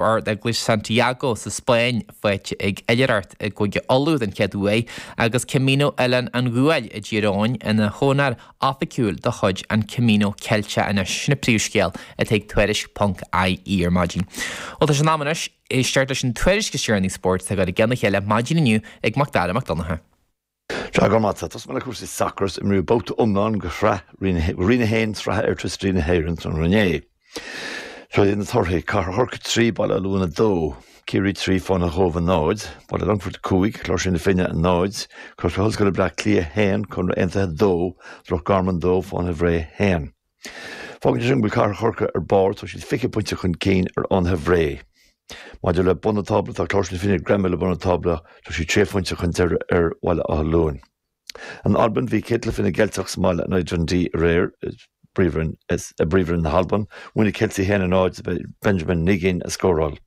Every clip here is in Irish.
Ard-Eaglais Santiago sa Spáinn faighte ag Oilithreacht i gCúige Uladh den chéad uair agus Camino Oileán an Ghuail i dTír Eoghain ina chonair oifigiúil de chuid an Camino Ceilteach anois. Sin an príomhscéal atá ag Tuairisc ponc IE ar maidin. Bhuel tá sé in am anois éisteacht leis an tuairisc is deireanaí spóirt atá curtha i gceann a chéile maidin inniu ag Macdara Mac Donncha. Sea, go raibh maith agat. Tosóidh mé le cúrsaí sacair is imríodh babhta iomlán de shraith Roinn 1 Sraith Airtricity na hÉireann tráthnóna inné. Seo iad na torthaí, Cathair Chorcaí 3, Baile Átha Luain 2, Ciarraí 3, Fánaithe Chóibh 0, Baile Longfoirt 5, Cláirsigh na Finne 0, Coláiste Ollscoile Bleá Cliath 1, Conradh Aontaithe 2, Loch Garman 2, Fánaithe Bhré 1. Fágann sé sin go bhfuil Cathair Chorcaí ar barr, tá siad 20 pointe chun cinn ar Fhánaithe Bhré. Maidir le bun an tábla, tá Cláirsigh na Finne greamaithe le bun an tábla, tá siad sé phointe chun deiridh ar Bhaile Átha Luain. In Albain, bhí céad cluiche na gCeilteach sa mbaile in aghaidh Dundee aréir i bPríomhroinn na hAlban. Bhuaigh na Ceiltigh 1-0, Benjamin Nigeen a scóráil.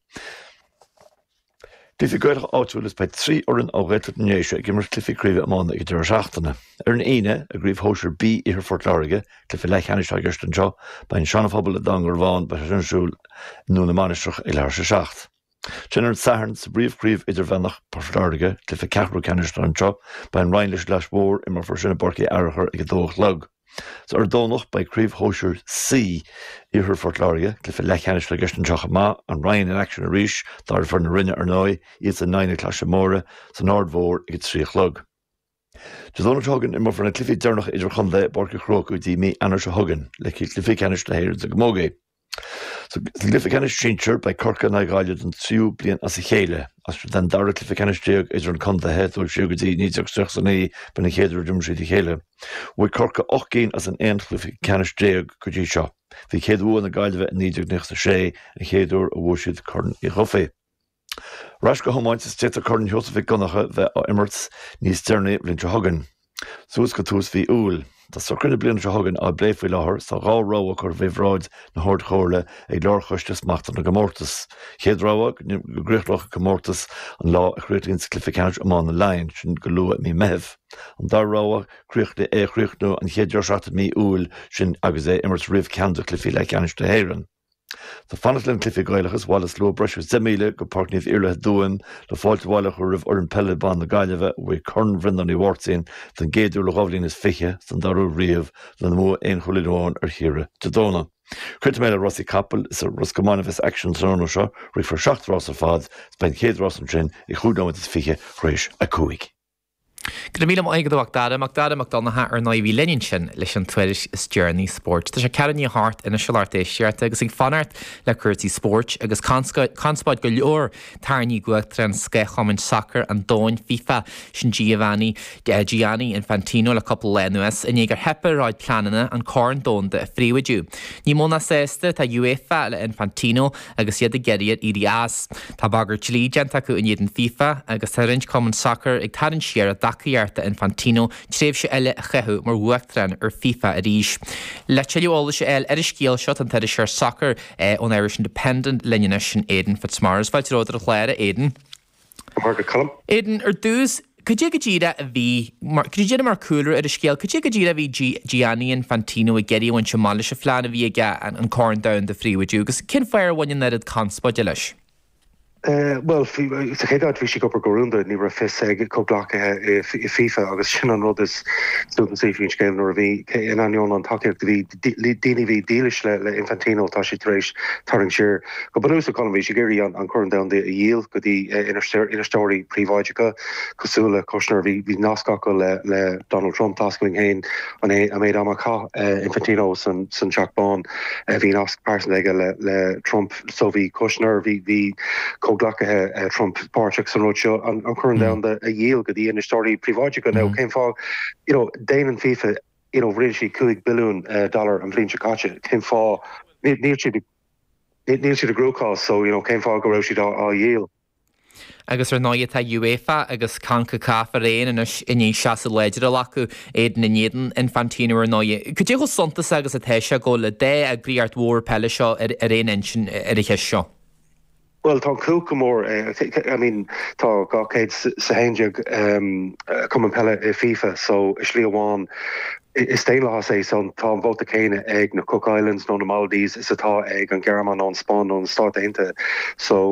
Cluichí Gaelacha áitiúil is beidh 3 fhoireann ó Ghaeltacht na nDéise ag imirt cluichí craoibhe iomána ag an deireadh seachtaine. Ar an Aoine, i gCraobh Shóisir B Iarthar Phort Láirge, cluiche leathcheannais atá i gceist anseo, beidh an Seana-Phobal i dTamhain Garbhán, beidh sé sin ar siúl i nDún na Mainistreach ag leathuair tar éis a 7. Ansin ar an Satharn, sa bPríomhchraobh Idirmheánach Phort Láirge, cluiche ceathrú ceannais atá anseo, beidh an Rinn leis an gClais Mhór, imreofar sin i bPáirc Uí Fhearchair ag a dó a chlog. Is ar an Domhnach, beidh Craobh Shóisir C Iarthar Phort Láirge, cluiche leathcheannais atá i gceist anseo chomh maith, an Rinn in action arís, dara foireann na Rinne ar ndóigh, iadsan in aghaidh na Claise Móire, san Aird Mhór ag a 3 a chlog. Dé Domhnaigh seo chugainn, imreofar na cluichí deireanacha idirchontae i bPáirc an Chrócaigh go dtí mí Eanáir seo chugainn, le cluichí ceannais na hÉireann sa gCamógaí. Sa gcluiche ceannais sinsir, beidh Corcaigh in aghaidh Ghaillimh don tríú bliain as a chéile. Is é an dara cluiche ceannais idir an contaetha, dul siar go dtí 1939 b'in an chéad uair a d'imir siad a chéile. Bhuaigh Corcaigh 8 gcinn as an 11 chluiche ceannais go dtí seo. Bhí céad bhua na Gaillimhe i 1996, an chéad uair a bhuaigh siad Corn Uí Dhufaigh. Ar ais go hiomáint is d'fhéadfadh Corn Sheosaimh Mhic Dhonncha bheith á imirt níos deireanaí an bhliain seo chugainn. Suas go tús mhí Iúil. Tá socruithe na bliana seo chugainn á bplé faoi láthair is tá dhá rogha curtha faoi bhráid na hArd-Chomhairle ag Lárchoiste Smachta na gComórtas. Chéad rogha, go gcríochnódh an comórtas an lá a chríochnaíonn cluiche ceannais iomána Laighean, sin go luath i mí Meithimh. An dara rogha, é a chríochnú an chéad deireadh seachtaine de mhí Iúil, sin agus é a imirt roimh ceann de chluichí leathcheannais na hÉireann. Ag fanacht le na cluichí Gaelacha is bhailigh slua breis agus 10,000 go Páirc Naomh Iarlaith i dTuaim le fáilte abhaile a chur roimh fhoireann peile ban na Gaillimhe a bhuaigh Corn Bhreandáin Uí Mháirtín don gcéad uair le 2020 is don dara huair riamh lena mbua aon chúilín amháin ar Chiarraí Dé Domhnaigh. Críochnóidh mé le rásaí capaill is i Ros Comáin a bheas aicsean an tráthnóna seo, rithfear seacht rás ar fad is beidh an chéad rás ansin ag chúig nóiméad is fiche tar éis a cúig. Go raibh míle maith agat a Mhac Dara, Mac Dara Mac Donncha ar ndóigh a bhí linn ansin leis an tuairisc is deireanaí spóirt. Tá sé ceathrú i ndiaidh a hocht anois a lucht éisteachta agus ag fanacht le cúrsaí spóirt agus conspóid go leor tarraingthe ag Uachtarán Scáth-Chumann Sacair an Domhain, FIFA, sin Giovanni Gianni Infantino le cúpla lá anuas i ndiaidh gur theip ar a chuid pleananna an Corn Domhanda a phríobháidiú. Ní mó ná sásta atá UEFA le Infantino agus iad ag iarraidh air éirí as. Tá bagairt dlí déanta acu in éadan FIFA agus tá roinnt cumann sacair ag tarraingt siar a dtacaíocht d'Infantino tréimhse eile a chaitheamh mar uachtarán ar FIFA arís. Le tuilleadh eolais a fháil ar an scéal seo tá an t-iriseoir sacair ón Irish Independent linn anois, sin Aidan Fitzmaurice. Fáilte romhat ar an chlár, a Aidan. Go Colm. Aidan, ar dtús, cad é go díreach a bhí, cad é díreach mar cúlra ar an scéal, cad é go díreach a bhí Gianni Infantino ag iarraidh a bhaint amach leis an phlean a bhí aige an Corn Domhanda a phríobháidiú agus cén fáth ar bhain an oiread conspóide leis? Bhuel, sa chéad áit bhí sé ag obair go rúnda, ní raibh fios ag comhghleacaithe i FIFA agus sin an rud is suntasaí faoin scéal nuair a bhí, in ainneoin an tacaíocht a bhí, daoine a bhí dílis le Infantino, tá siad tar éis tarraingt siar. Go bunúsach, Colm, bhí sé ag iarraidh an Corn Domhanda a dhíol go dtí infheisteoirí príobháideacha cosúil le Kushner. Bhí nasc acu le Donald Trump. Tá a fhios againn féin an méid ama a chaith Infantino san Teach Bán. Bhí nasc pearsanta aige le Trump. So bhí Kushner, bhí comhghleacaithe Trump páirteach san rud seo, an Corn Domhanda a dhíol go dtí infheisteoirí príobháideacha. Now cén fáth, you know, déanann FIFA, you know, rinne siad 5 billiún dollar an bhliain seo caite. Cén fáth? Níl siad ag. Níl siad i gcruachás so you know cén fáth go raibh siad á dhíol? Agus ar ndóigh tá UEFA agus Concacaf araon anois i ndiaidh seasamh láidir a ghlacadh, Aidan, in éadan Infantino ar ndóigh. Cad é chomh suntasach agus atá sé go bhfuil an dá eagraíocht mhór peile seo ar aon intinn ar an cheist seo? Bhuel, tá an chumhacht go mór. I mean, tá 211 cumann peile i FIFA, so i slí amháin is daonlathas é, so tá an vóta céanna ag na Cook Islands nó na Maldives is atá ag an Ghearmáin nó an Spáinn nó na Stáit Aontaithe. So.